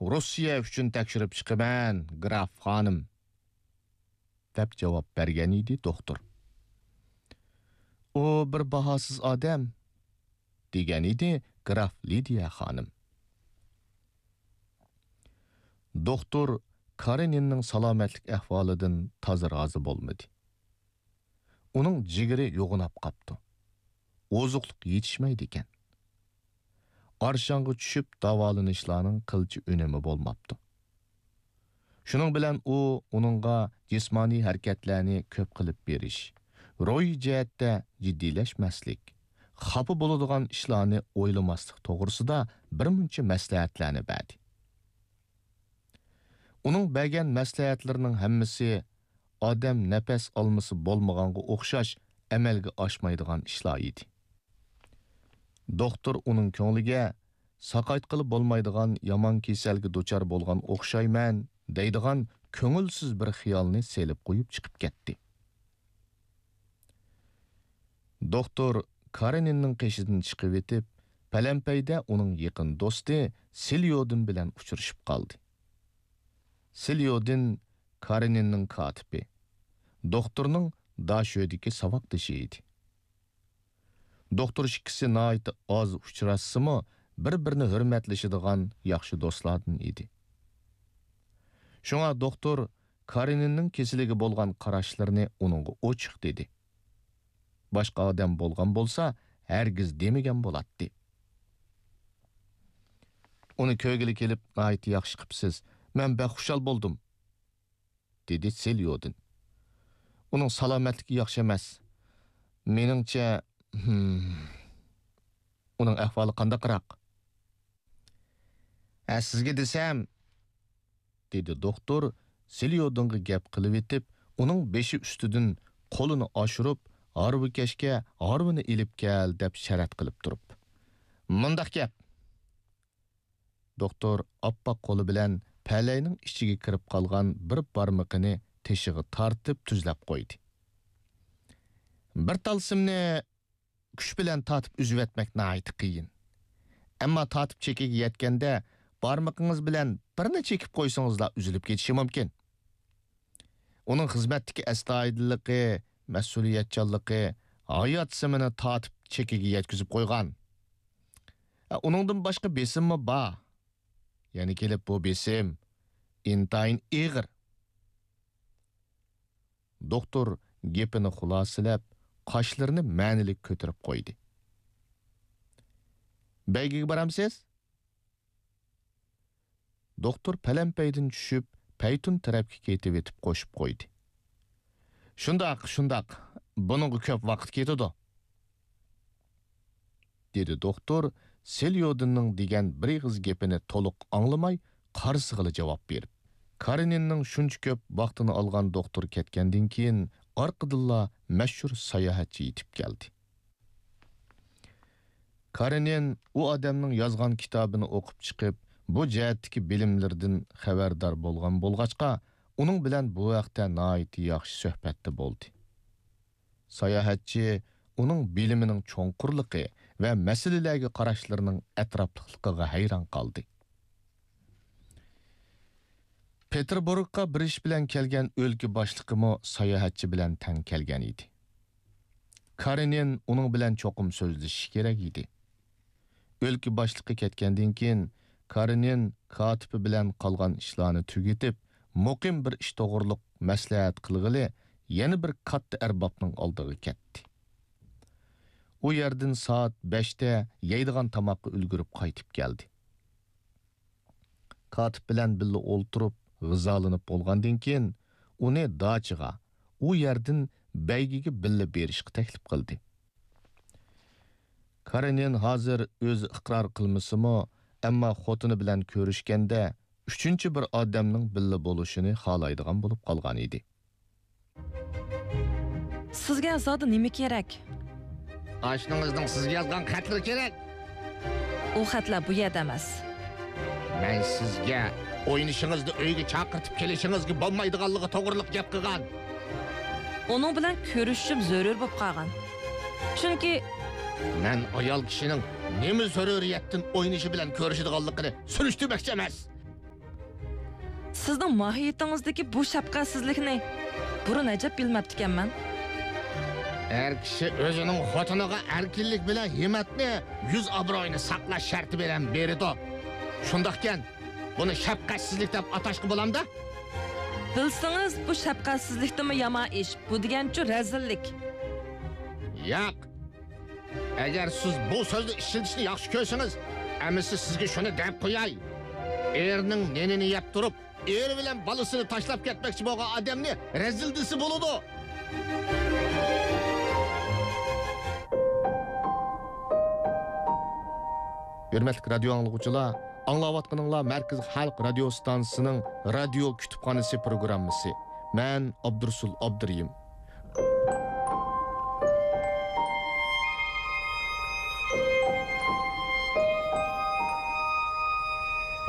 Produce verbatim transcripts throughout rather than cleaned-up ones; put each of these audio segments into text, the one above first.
روسىيە ئۈچۈن تەكشۈرۈپ چىقىمەن، گراف خانىم، دەپ جاۋاب بەرگەن ئىدى دوختۇر. ئۇ بىر باھاسىز ئادەم، دېگەن ئىدى گراف لىدىيە خانىم. دوختۇر كارېنىننىڭ سالامەتلىك ئەھۋالىدىن تازا رازى بولمىدى. ئۇنىڭ جىگىرى يوغىناپ قاپتۇ. ئوزۇقلۇق يېتىشمەيدىكەن. ئارشاڭغا چۈشۈپ داۋالىنىشلارنىڭ قىلچە ئۈنۈمى بولماپتۇ. شۇنىڭ بىلەن ئۇ ئۇنىڭغا جىسمانىي ھەرىكەتلەرنى كۆپ قىلىپ بېرىش، روھىي جەھەتتە جىددىيلەشمەسلىك، خاپا بولىدىغان ئىشلارنى ئويلىماسلىق توغرىسىدا بىر مۇنچە مەسلىھەتلەرنى بەردى. ئۇنىڭ بەرگەن مەسلىھەتلىرىنىڭ ھەممىسى ئادەم نەپەس ئالمىسا بولمىغانغا ئوخشاش ئەمەلگە ئاشمايدىغان ئىشلار ئىدى. دوختۇر ئۇنىڭ كۆڭلىگە ساقايتقىلى بولمايدىغان يامان كېسەلگە دۇچار بولغان ئوخشايمەن دەيدىغان كۆڭۈلسىز بىر خىيالنى سېلىپ قويۇپ چىقىپ كەتتى. دوختۇر كارېنىننىڭ قېشىدىن چىقىۋېتىپ، پەلەمپەيدە ئۇنىڭ يېقىن دوستى سىليودىن بىلەن ئۇچرىشىپ قالدى. سىليودىن كارېنىننىڭ كاتىپى، دوختۇرنىڭ داشۆدىكى ساۋاقدىشى ئىدى. دوختۇر ئىككىسى ناھايىتى ئاز ئۇچراشسىمۇ، بىر-بىرىنى ھۆرمەتلىشىدىغان ياخشى دوستلاردىن ئىدى. شۇڭا دوختۇر كارېنىننىڭ كېسىلىگە بولغان قاراشلىرىنى ئۇنىڭغا ئوچۇق دېدى. باشقا ئادەم بولغان بولسا، ھەرگىز دېمىگەن بولاتتى. ئۇنى كۆرگىلى كېلىپ ناھايىتى ياخشى قىپسىز. مەن بەك خۇشال بولدۇم، دېدى سېليودىن. ئۇنىڭ سالامەتلىكى ياخشى ئەمەس. مېنىڭچە، ھىم، ئۇنىڭ ئەھۋالى قانداقراق؟ ھە، سىزگە دېسەم، دېدى دوختۇر سېليودىنغا گەپ قىلىۋېتىپ، ئۇنىڭ بېشى ئۈستىدىن قولىنى ئاشۇرۇپ، ھارۋىكەشكە ھارۋىنى ئېلىپ كەل دەپ شەرەت قىلىپ تۇرۇپ. مۇنداق گەپ. دوختۇر ئاپئاق قولى بىلەن پەلەينىڭ ئىچىگە كىرىپ قالغان بىر بارمىقىنى تېشىغا تارتىپ تۈزلەپ قويدى. بىر تال سىمنى كۈچ بىلەن تارتىپ ئۈزۈۋەتمەك ناھايىتى قىيىن. ئەمما تارتىپ چېكىگە يەتكەندە، بارمىقىڭىز بىلەن بىرنى چېكىپ قويسىڭىزلا ئۈزۈلۈپ كېتىشى مۇمكىن. ئۇنىڭ خىزمەتتىكى ئەستايىدىللىقى، مەسئۇلىيەتچانلىقى ھايات سىمىنى تارتىپ چېكىگە يەتكۈزۈپ قويغان. ئۇنىڭدىن باشقا بېسىممۇ بار. يەنە كېلىپ بۇ بېسىم ئىنتايىن ئېغىر. دوختۇر گېپىنى خۇلاسىلەپ، قاشلىرىنى مەنىلىك كۆتۈرۈپ قويدى. بەيگىگە بارامسىز؟ دوختۇر پەلەمپەيدىن چۈشۈپ، پەيتۇن تەرەپكە كېتىۋېتىپ قوشۇپ قويدى. شۇنداق، شۇنداق، بۇنىڭغا كۆپ ۋاقىت كېتىدۇ. دېدى دوختۇر سېليودىننىڭ دېگەن بىر ئېغىز گېپىنى تولۇق ئاڭلىماي، قارىسىغىلا جاۋاب بېرىپ. كارېنىننىڭ شۇنچە كۆپ ۋاقتىنى ئالغان دوختۇر كەتكەندىن كېيىن، ئارقىدىنلا مەشھۇر ساياھەتچى يېتىپ كەلدى. كارېنىن ئۇ ئادەمنىڭ يازغان كىتابىنى ئوقۇپ چىقىپ، بۇ جەھەتتىكى بىلىملىرىدىن خەۋەردار بولغان بولغاچقا، ئۇنىڭ بىلەن بۇ ھەقتە ناھايىتى ياخشى سۆھبەتتە بولدى. ساياھەتچى ئۇنىڭ بىلىمىنىڭ چوڭقۇرلۇقى ۋە مەسىلىلەرگە قاراشلىرىنىڭ ئەتراپلىقلىقىغا ھەيران قالدى. پېتېربۇرگقا بىر ئىش بىلەن كەلگەن ئۆلكە باشلىقىمۇ ساياھەتچى بىلەن تەڭ كەلگەن ئىدى. كارېنىن ئۇنىڭ بىلەن چوقۇم سۆزلىشىشى كېرەك ئىدى. ئۆلكە باشلىقى كەتكەندىن كېيىن، كارېنىن كاتىپى بىلەن قالغان ئىشلارنى تۈگىتىپ، مۇقىم بىر ئىش توغرۇلۇق مەسلىھەت قىلغىلى يەنە بىر كاتتا ئەربابنىڭ ئالدىغا كەتتى. ئۇ يەردىن سائەت بەشتە يەيدىغان تاماققا ئۈلگۈرۈپ قايتىپ كەلدى. كاتىپ بىلەن بىللە ئولتۇرۇپ غىزالىنىپ بولغاندىن كېيىن، ئۇنى داچىغا، ئۇ يەردىن بەيگىگە بىللە بېرىشقا تەكلىپ قىلدى. كارېنىن ھازىر ئۆزى ئىقرار قىلمىسىمۇ، ئەمما خوتۇنى بىلەن كۆرۈشكەندە ئۈچىنچى بىر ئادەمنىڭ بىللە بولۇشىنى خالايدىغان بولۇپ قالغان ئىدى. سىزگە زادى نېمە كېرەك؟ ئاشنىڭىزنىڭ سىزگە يازغان خەتلىرى كېرەك. ئۇ خەتلەر بۇ يەردە ئەمەس. مەن سىزگە ئوينىشىڭىزنى ئۆيگە چاقىرتىپ كېلىشىڭىزگە بولمايدىغانلىقى توغرىلىق گەپ قىلغان. ئۇنىڭ بىلەن كۆرۈشۈشۈم زۆرۈر بولۇپ قالغان. چۈنكى مەن ئايال كىشىنىڭ نېمە زۆرۈرىيەتتىن ئوينىشى بىلەن كۆرۈشىدىغانلىقىنى سۈرۈشتۈرمەكچى ئەمەس. سىزنىڭ ماھىيىتىڭىزدىكى بۇ شەپقەتسىزلىكنى بۇرۇن ئەجەب بىلمەپتىكەنمەن. ئەر كىشى ئۆزىنىڭ خوتۇنىغا ئەركىنلىك بىلەن ھىممەتنى، يۈز ئابرۇيىنى ساقلاش شەرتى بىلەن بېرىدۇ. شۇنداقكەن، بۇنى شەپقەتسىزلىك دەپ ئاتاشقا بولامدا؟ بىلسىڭىز، بۇ شەپقەتسىزلىكتىنمۇ يامان ئىش. بۇ دېگەنچۇ رەزىللىك. ياق. ئەگەر سىز بۇ سۆزنى ئىشلىتىشنى ياخشى كۆرسىڭىز، ئەمىسە سىزگە شۇنى دەپ قوياي. ئېرىنىڭ نېنىنى يەپ تۇرۇپ، ئېرى بىلەن بالىسىنى تاشلاپ كەتمەكچى بولغان ئادەمنى رەزىل دېسە بولىدۇ. ھۆرمەتلىك رادىيو ئاڭلىغۇچىلار، ئاڭلاۋاتقىنىڭلار مەركىزىي خەلق رادىيو ستانسىسىنىڭ رادىيو كۇتۇپخانىسى پروگراممىسى. مەن ئابدۇرۇسۇل ئابدۇرېھىم.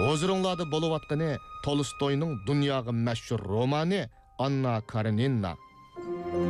ھۇزۇرۇڭلاردا بولۇۋاتقىنى تولستوينىڭ دۇنياغا مەشھۇر رومانى ئاننا كارېنىنا.